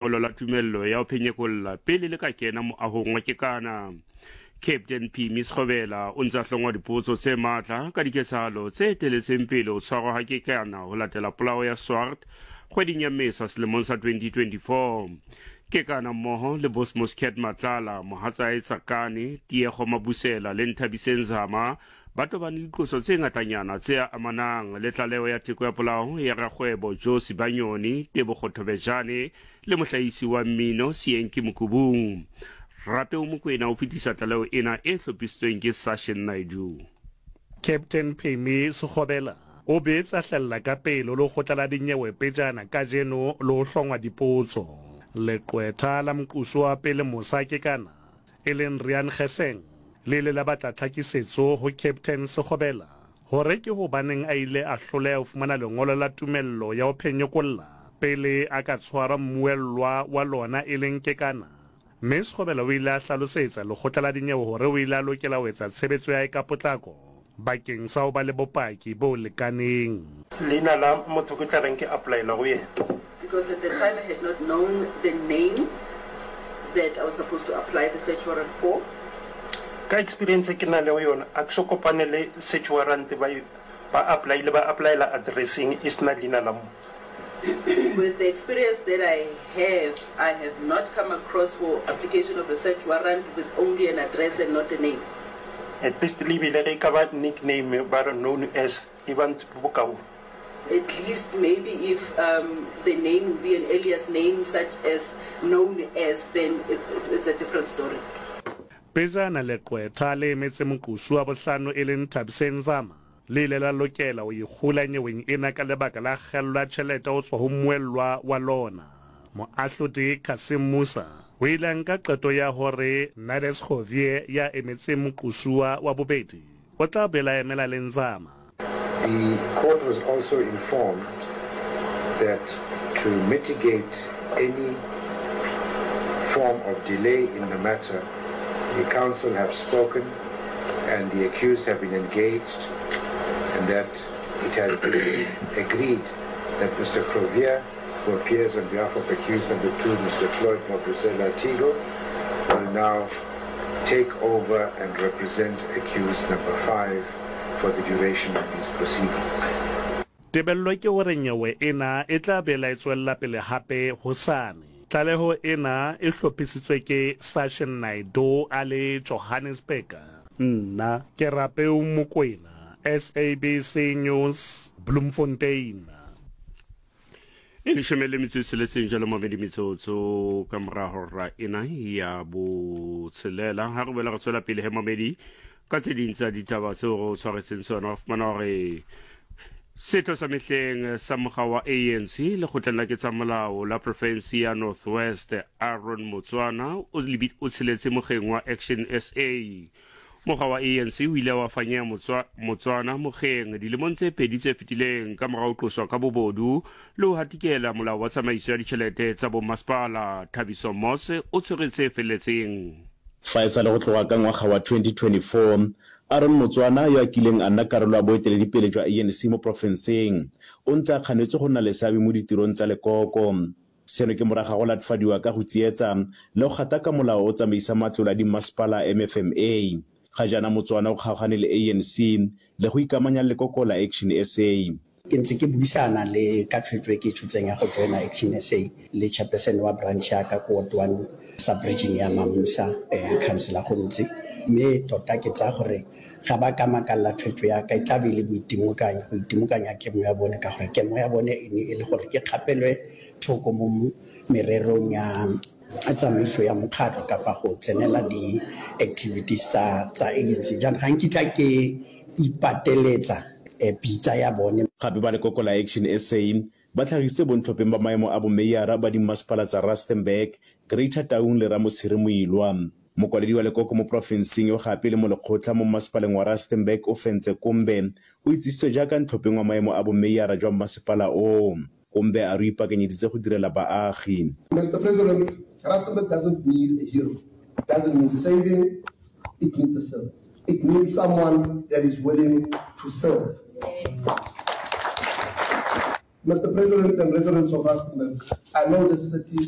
Lengolo la tumello ya ho phenyekolla pele le ka kena moahong wa Kekana. Captain Phimi Sekgobela o ntse a hlongwa dipotso tse matla ka diketsahalo tse eteletseng pele ho tshwarwa ha Kekana ho latela polao ya Swart kgweding ya Mmesa selemong sa 2024. Kekana mmoho le Vosmos Cat Matlala, mohatsae Tsakane, Tiego Mabusela le Nthabiseng Zama ba tobane le diqoso tse ngatanyana tse amanang le tlaleho ya theko ya polao ya rakgwebo Joe Sibanyoni, Tebogo Thobejane le mohlahisi wa mmino Seenki Mokubung. Rapeo Mokwena o fetisa tlaleho ena e hlophisitsweng ke Sashin Naidoo. Captain Phemi Sekgobela o be tsa hlella ka pele ho lekgotla la dinyewe pejana kajeno le ho hlongwa dipotso. Leqwetha la moqosi wa pele Mosa Kekana e leng Riaan Geseng, le ile la batla tlhakisetso ho Captain Sekgobela hore ke hobaneng a ile a hloleha ho fumana lengolo la tumello ya ho phenyekolla pele a ka tshwarwa mmuellwa wa lona e leng Kekana. Mme Sekgobela o ile a hlalosetsa lekgotla la dinyewe hore o ile a lokela ho etsa tshebetso ya hae ka potlako bakeng sa ho ba le bopaki bo lekaneng. Leina la motho ke tla reng ke applyela go yena. Because at the time I had not known the name that I was supposed to apply the search warrant for. Ka experience e ke na lego yona, a ke so kopane le search warrant ba ba applyile ba applyela addresseng e sena leina la motho. With the experience that I have, I have not come across for application of a search warrant with only an address and not a name. At least le bile ge e ka ba nickname ba re known as e ba bokaone. At least maybe if the name would be an alias name such as known as then it's a different story. Pejana leqwetha le emetse moqosi wa bohlano e leng Thabiseng Nzama le ile la lokela ho ikgula nyeweng ena ka lebaka la kgello ya tjhelete ho tswa ho mmuellwa wa lona. Moahlodi Cassim Moosa o ile a nka qeto ya hore Nades Govie ya emetseng moqosuwa wa bobedi o tla boela a emela le Nzama. The court was also informed that to mitigate any form of delay in the matter, the counsel have spoken and the accused have been engaged and that it has been agreed that Mr. Crovier, who appears on behalf of accused number 2, Mr. Floyd Mabusela Tigo, will now take over and represent accused number 5 for the duration of these proceedings. Tebello ke hore nyewe ena e tla bela e tswella pele hape hosane. Tlaleho ena e hlophisitswe ke Sashin Naidoo a le Johannesburg. Nna ke Rapeu Mokwena, SABC News, Bloemfontein. E leshome le metso e tsheletseng jalo mamedi metsotso ka mora hora ena ya botshelela ha re boela re tswela pele he mamedi ka tse ding tsa ditaba tseo re o tshwaretseng tsona wa fumana hore setho sa mehleng sa mokga wa ANC lekgotleng la ketsamolao la profensi ya North West Aaron Motswana o tsheletse mokgeng wa Action SA. Mokga wa ANC o ile wa fanyeha Motswana mokgeng dilemong tse pedi tse fetileng ka mora ho qoswa ka bobodu le ho hatikela molao wa tsamaiso ya ditjhelete tsa bommasepala. Thabiso Moss o tshwere tse felletseng. Fa e sa le go tloga ka ngwaga wa 2024, Aaron Motswana, yo a kileng a nna karolo ya boeteledipele jwa ANC mo porofenseng, o ntse a kganetswe go nna le seabe mo ditirong tsa lekoko. Seno ke morago ga go latofadiwa ka go tsietsa le go gataka molao o o tsamaisang matlole a dimmasepala, MFMA. Ga jaana Motswana o kgaogane le ANC le go ikamanya le lekoko la Action SA. Ke ntse ke buisana le ka tshwetso e ke e tshotseng ya go joina Action SA le chairperson wa branch ya ka ko Ward One sub region ya Mamusa, Councillor Gontse, mme tota ke tsaya gore ga ba ka makalela tshwetso ya ka e tla be e le boitimokanyi, go itimokanya kemo ya bone ka gore kemo ya bone e ne e le gore ke kgapelwe thoko mo mererong ya tsamaiso ya mokgatlho kapa go tsenela di-activities tsa agency. Jaanong ga nkitla ke ipateletsa pitsa ya bone. Gape ba lekoko la Action SA ba tlhagisitse bontlhopheng ba maemo a bomeyara ba dimmasepala tsa Rustenburg, Greater Taung le Ramotshere Moilwa. Mokwaledi wa lekoko mo porofenseng yo gape e le molekgotla mo mmasepaleng wa Rustenburg Ofentse Kombe o itsisitswe jaaka ntlhopheng wa maemo a bomeyara jwa mmasepala oo. Kombe a re o ipakanyeditse go direla baagi. Mister President, Rustenburg doesn't need a hero, it doesn't need saving, it needs a servant. It needs someone that is willing to serve. Mister President and residents of Rustenburg, I know this city.